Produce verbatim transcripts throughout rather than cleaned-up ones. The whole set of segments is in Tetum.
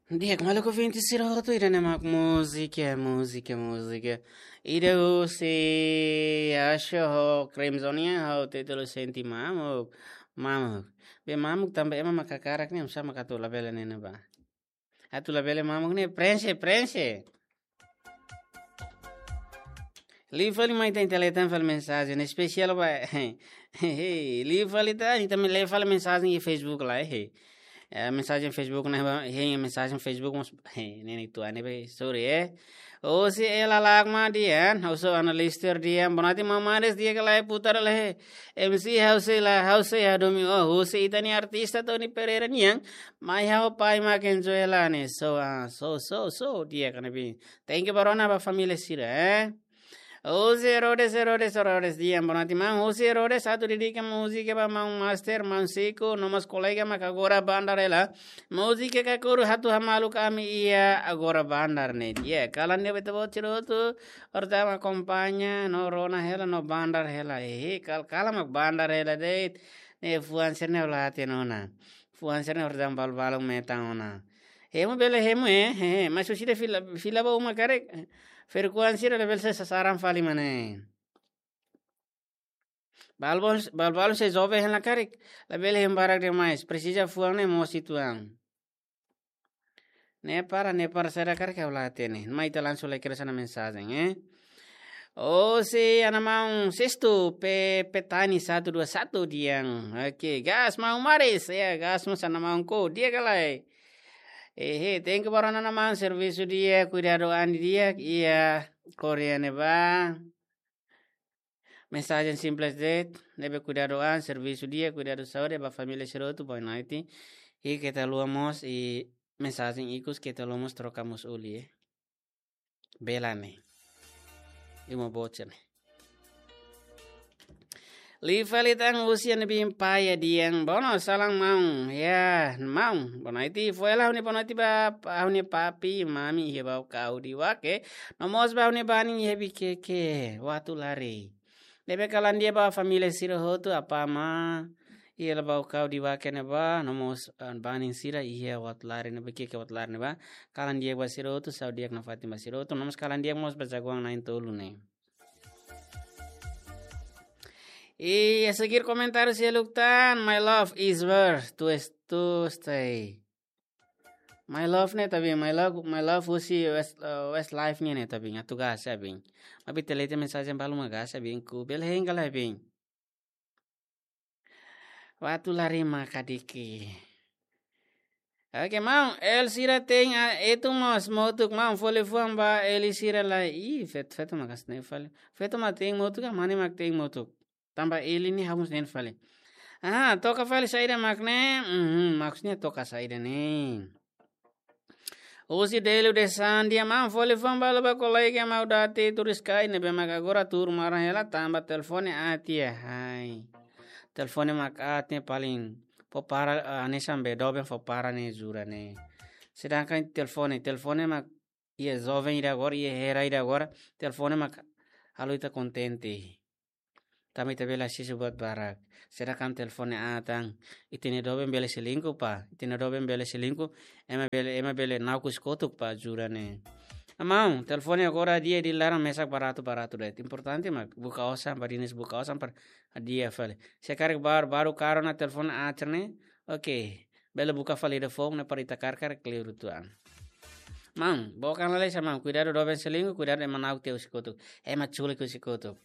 Di'ak, maluk ouvinte sira hotu, ida-ne'e mak múzika, múzika, múzika. Ida husi Usher ho Crimzonia ho títulu Sente Mamuk, Mamuk. Be mamuk tanba ema mak hakarak ne'e, oinsá mak atu labele ne'e ne'ebá. Atu labele mamuk ne'e, prenxe, prenxe. Liu fali mai ita-nia tele tan fali mensajen espesiál ba. Liu fali tan, ita mai lee fali mensajen iha Facebook lai, he. Eh, mensajen Facebook ne'ebá, he, mensajen Facebook mós, he, ne'e ne'e tuan ne'ebé, sorry, eh. Husi Ela Lakma Dian, husu Ana Lister Dian, boa noite maun Maris, di'ak ka lae, putar lai, he. M C ha'u sei la, ha'u sei hadomi ó, husi ita-nia artista Tony Pereira nian, mai ha'u pai mak enjoy hela ne'e, so, ah, so, so, so, di'ak ka ne'ebé. Thank you ba rona ba família sira, eh. Husi Herodes, Herodes, Herodes, di'ak, boa noite maun. Husi Herodes, atu dedika múzika ba maun Master, maun Siko, no mós kolega mak agora bandar hela. Múzika Kakuru Hatu Hamaluk Ami iha agora bandar ne'e. Di'ak, kalan ne'ebé ita-boot sira hotu, horta mak akompaña, no rona hela, no bandar hela. Ehe, kal-, kalan mak bandar hela de'it. Ne'e fuan sira-ne'e la hatene ona. Fuan sira-ne'e horta balu-balu metan ona. Hemu bele hemu, eh, eh, eh, mas husi ida fila, fila ba uma karik. Frekuénsia labele sai sasaran fali mak ne'e. Balu-balu, balu-balu sei joven hela karik. Labele hemu barak demais. Presiza fuan ne'e mós uitoan. Ne'e para, ne'e para saida karik ha'u la hatene. Mai ita langsung lai kedas ona mensajen, eh. Husi Ana Maun Sistu, Pe-, Petani satu dua satu Dian. Oke, gas maun Maris. Ya, gas mós Ana Maun ko. Di'ak ka lae. Ehe, thank you ba rona Ana Maun, servisu di'ak, kuidadu an di'ak, iha Korea ne'ebá. Mensajen simples de'it, ne'ebé kuidadu an, servisu di'ak, kuidadu saúde ba família sira hotu, boa noite. I keta haluha mós, i mensajen ikus keta haluha mós troka mós Uli, eh. Bela ne'e. Imo bocha ne'e. Liu fali tan husi Nebin Paia Dian. Bono, salam maun. Ya, maun. Boa noite, fó hela ha'u-nia boa noite ba, ha'u-nia papi, mami, iha Baucau Diuaque. No mós ba ha'u-nia banin iha Viqueque, Uatulari. Ne'ebé kalan di'ak ba família sira hotu, apá amá, iha Baucau Diuaque ne'ebá, no mós, ah, banin sira iha Uatulari ne'ebá, Viqueque Uatulari ne'ebá. Kalan di'ak ba sira hotu, saúde di'ak nafatin ba sira hotu, no mós kalan di'ak mós ba jagoan na'in-tolu ne'e. I a seguir komentáriu seluk tan, my love is where to, to stay. My love ne'e ita bin, my love, my love husi West, eh, Westlife nian ne'e ita bin, atu gas ita bin. Maibé ita lee tiha mensajen balu mak gas ita bin, ku bele hein ka lae bin. Uatulari mak kadiki. Oke, maun, L sira tein, ah, etu mós motuk, maun, fó liafuan ba L sira lai. Ih, fet-, feto mak hanesan ne'e fali. Feto mak tein motuk, ah, mane mak tein motuk. Tanba L ne'e ha'u mós hein fali. Ah, toka fali saida mak ne'e? Mhm, maksudnya toka saida ne'e? Husi Delu de Sandia, maun, fó liafuan balu ba kolega Maudati Turiskai ne'ebé mak agora tuur maran hela tanba telefone aat tiha, hai. Telefone mak aat ne'e paling fó para, ah, hanesan be doben fó para ne'e jura ne'e. Sedangkan telefone, telefone mak iha joven ida agora, iha era ida agora, telefone mak halo ita kontente. Tanba ita bele asesu buat barak. Sedangkan telefone aat tan, ita-nia doben bele selingkuh pá, ita-nia doben bele selingkuh, ema bele, ema bele na'ok husi kotuk pá jura ne'e. Maun, telefone agora di'ak, di'ak laran mesak baratu, baratu de'it. Importante mak buka osan, badinas buka osan para di'ak fali. Se karik baru, baru karu ona telefone aat ne'e, oke. Bele buka fali ida foun ne'e para ita karkar kleur uitoan. Maun, book an lalais maun, kuidadu doben selingkuh, kuidadu ema na'ok tiha husi kotuk. Ema culik husi kotuk.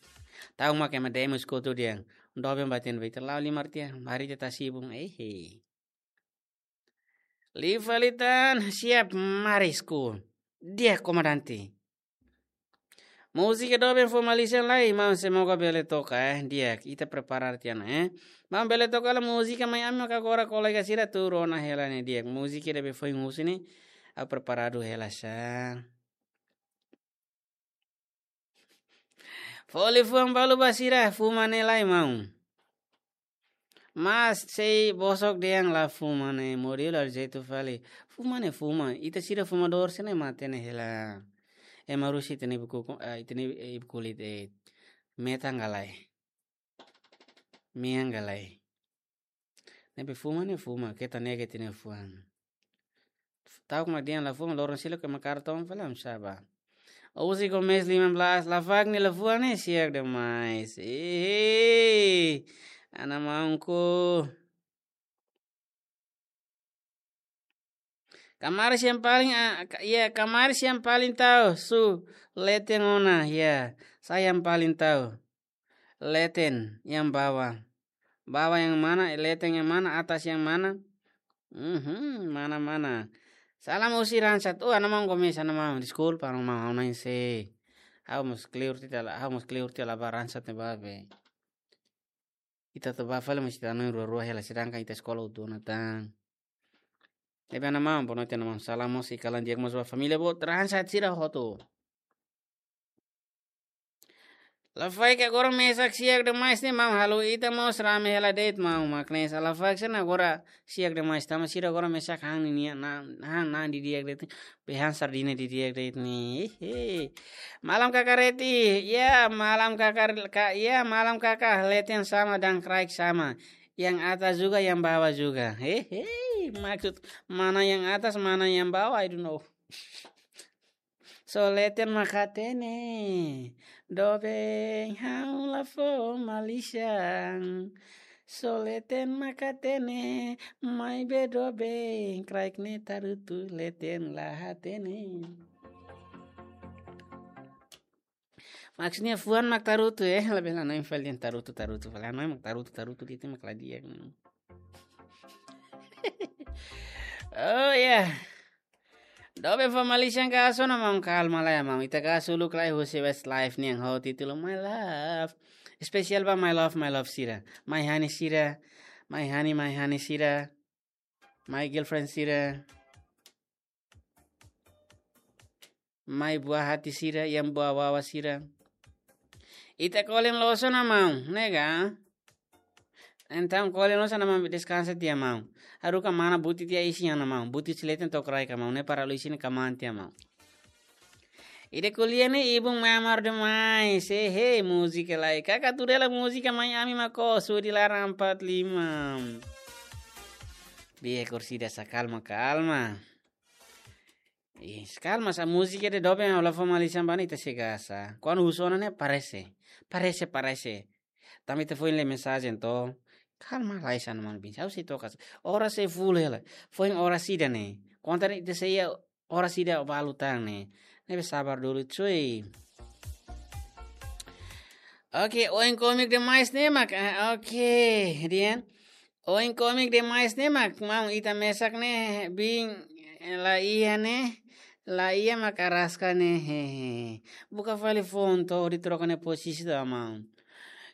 Ta'uk mak ema demo husi kotuk dehan. Doben ba tiha ne'ebé ita la'o limar tiha, mari ita tasi ibun, ehe. Liu fali tan, siap Marisku. Di'ak komandante. Múzika doben fó malisan lai, maun, semoga bele toka, eh, di'ak, ita preparar tiha ona, eh. Maun, bele toka hela múzika mai ami mak agora kolega sira tuur ona hela ne'e, di'ak. Múzika ida be foin husu ne'e, ha'u preparadu hela sa. Fó liafuan balu ba sira, fuma ne'e lai, maun. Mas sei bosok dehan la fuma ne'e, modelu arjetu fali. Fuma ne'e fuma, ita sira fumadór sira-ne'e matenek hela. Ema rusa ita-nia ibu kuku, eh, ita-nia, eh, ibu kulit, eh, metan ka lae. Mean ka lae. Ne'ebé fuma ne'e fuma, keta nega ita-nia fuan. Ta'uk mak dehan la fuan, loron seluk ema karton fali, am saba. Uzi Gomes lima belas, la fak ni la fuan ne'e siak demais. Ehe. Ana maunku. Kamaris yang paling, ah, ka-, ya, kamaris yang paling tahu, su, leten ona, ya. Saya yang paling tahu. Leten yang bawah. Bawah yang mana, leten yang mana, atas yang mana? Mhm, mana, mana? Salam husi Ransat. Oh, ana maun Gomes, ana maun. Deskulpa, ana maun, ha'u na'in-sé. Ha'u mós kleur tiha la, ha'u mós kleur tiha la ba Ransat ne'ebá be. Ita atu bá fali mós ita na'in rua-rua hela, sedangkan ita eskola hotu ona tan. Ne'ebé ana maun, boa noite ana maun. Salam mós i kalan di'ak mós ba família boot Ransat sira hotu. Lafaek agora mesak siak demais ne'e maun, halo ita mós rame hela de'it maun, mak ne'e sa lafaek sira agora siak demais, tanba sira agora mesak han nian, na, han na'an didi'ak de'it, be han sardina didi'ak de'it ne'e. Hehe. Malam Kaka Reti, ya, malam Kaka, ka, ya, malam Kaka, leten sama dan kraik sama. Yang atas juga, yang bawah juga. Hehe, maksud mana yang atas, mana yang bawah, I don't know. Só leten mak hatene, doben ha'u la fó malisan. Só leten mak hatene, maibé doben, kraik ne'e tarutu leten la hatene. Maksudnya fuan mak tarutu, eh, labele hanoin fali dehan tarutu, tarutu, fali hanoin mak tarutu, tarutu, de'it mak la di'ak. Oh, ya. Doben fó malisan ka aso na maun, kalma lai maun. Ita ka aso uluk lai husi Westlife nian ho títulu My Love. Espesiál ba my love, my love sira. My honey sira. My honey, my honey sira. My girlfriend sira. My buah hati sira, yang buah wawa sira. Ita kolen loos ona maun, ne'e ka? Entaun kolen loos ona maun, deskansa tiha maun. Haruka mana buti tiha isin ona maun. Buti husi leten to'o kraik ka maun, ne'e para lo isin ka man tiha maun. Ida ko'alia ne'e ibun mamar demais. Hehe, múzika lai. Kaka tuda hela múzika mai ami mak ó, Sudi Laran empat lima. Bia kursi dasa kalma, kalma. Ih, kalma sa múzika de doben ha'u la fó malisan ba ne'e ita sei gasta. Kuandu husu ona ne'e parese. Parese, parese. Tanba ita foin lee mensajen to. Kalma lai sa, ana maun bin. Ha'u sei toka sa. Oras sei full hela. Foin oras ida ne'e. Konta ne'e ita sei iha oras ida balu tan ne'e. Ne'ebé sabar dulu cuy. Oke, oin komik demais ne'e mak. Ah, oke, dehan. Oin komik demais ne'e mak, maun, ita mesak ne'e, bin, eh, la iha ne'e, la iha mak araska ne'e, hehe. Buka fali foun to'o hodi troka nia pozisi to'o maun.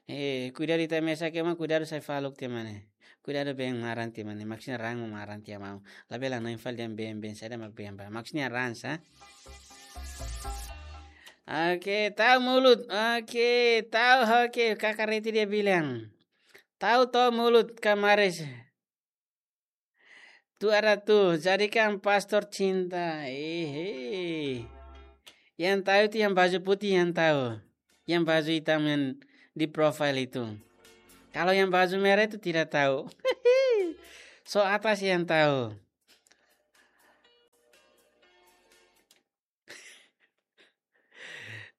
Eh, kuidadu ita mesak ema, kuidadu sai faluk tiha ema ne'e. Kuidadu been maran tiha ema ne'e, maksudnya raan mak maran tiha maun. Labele hanoin fali dehan been, been saida mak been ba. Maksudnya raan sa. Oke, tahu mulut. Oke, tahu, oke, Kaka Reti dia bilang. Tahu to mulut kamaris. Tu ada tu, jadikan pastor cinta. Ehe. Yang tahu itu yang baju putih yang tahu. Yang baju hitam yang di profile itu. Kalau yang baju merah itu tidak tahu. So atas yang tahu.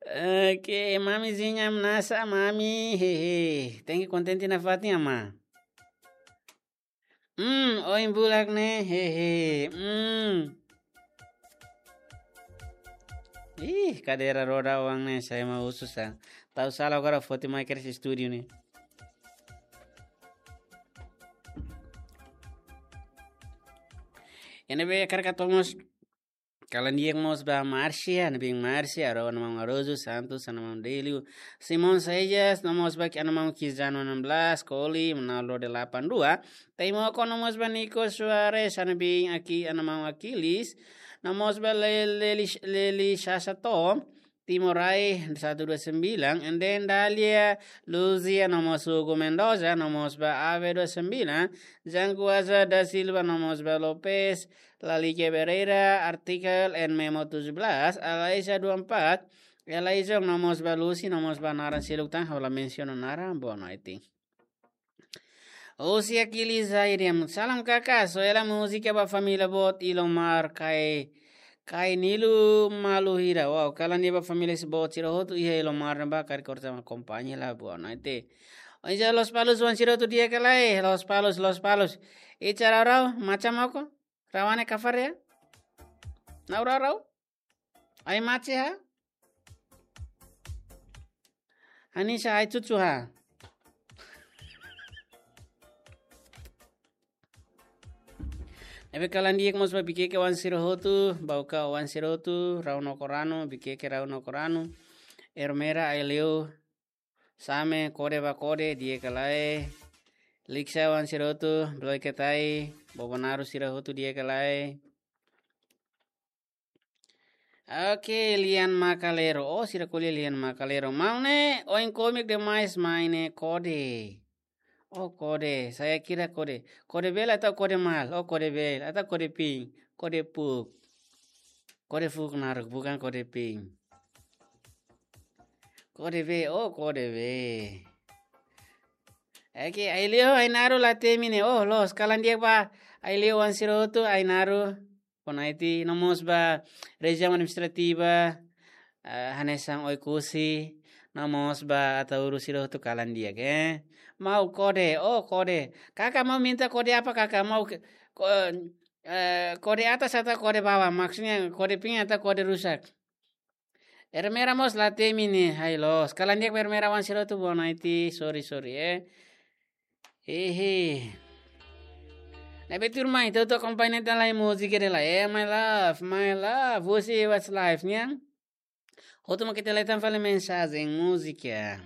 Oke, mamizinha nasa, mami, hehe. Tenke kontente nafatin, amá. Hmm, oin bulak ne'e, hehe. Hmm. Ih, kadeira roda oan ne'e, sai ema husu sa. Tau sala agora foti mai kedas estúdiu ne'e. Ne'ebé hakarak hato'o mós kalan di'ak mós ba Márcia, ne'ebé Márcia, Aro, ana maun Arojo Santos, ana maun Delio, Simão Saijas, no mós ba ki ana maun Kizano enam belas, Koli, Ronaldo delapan dua, Taimoko, no mós ba Nico Soares, ana bin aki, ana maun Aquiles, no mós ba Le-, Leli, Leli Sasato, Timorai satu dua sembilan, and then Dalia, Luzia, no mós Hugo Mendoza, no mós ba Ave dua sembilan, Janguaza da Silva, no mós ba Lopes, Lalique Pereira, Artikel, and Memo tujuh belas, Alaisa dua empat, Elaison, no mós ba Lucy, no mós ba naran seluk tan, ha'u la mensiona naran, boa noite. Husi Aquiles Airiam. Salam kaka, soe hela múzika ba família boot Ilomar, Kai, Kai Nilu Malu Hira. Wow, kalan di'ak ba família boot sira hotu iha Ilomar ne'ebá, karik korta ma kompañia la boa, no ite. Oin ja Lospalos oan sira hotu di'ak ka lae, Lospalos, Lospalos. Icha rau rau, macha moko? Rau ne'e kafar ya? Nau rau rau? Ai macha ha? Hanesan ai chuchu ha? Ne'ebé kalan di'ak mós ba Bikeke oan sira hotu, Bauka oan sira hotu, Rau no Korano, Bikeke Rau no Korano, Ermera, Aileu, Same, kode ba kode, di'ak ka lae. Liksa oan sira hotu, Bloiketai, Bobonaru sira hotu, di'ak ka lae. Oke, Lian Makalero. Oh, sira ko'alia Lian Makalero. Maun ne'e, oin kómiku demais, mai ne'e kode. Oh, kode. Saya kira kode. Kode beel atau kode mahal? Oh, kode beel. Atau kode pink? Kode fuuk. Kode fuuk naruk, bukan kode pink. Kode bee, oh, kode bee. Oke, Aileu Ainaru la temi ne'e. Oh, loos, kalan di'ak ba Aileu oan sira hotu, Ainaru. Bonaiti, no mós ba rejiaun administrativa, eh, hanesan Oekusi, no mós ba Ataúru sira hotu kalan di'ak, eh. Maun kode, oh kode. Kaka mau minta kode apa kaka? Mau ke-, ko-, eh, kode atas atau kode bawah? Maksudnya kode pink atau kode rusak? Ermera mós la temi ne'e, hai loos. Kalan di'ak ba Ermera oan sira hotu, bonaiti, sorry, sorry, eh. Hehe. Ne'ebé tuirmai, ita hotu akompaña tan lai múzika dela. Eh, my love, my love. Você, what's life, nian? Hotu mak ita leten fali mensajen múzika.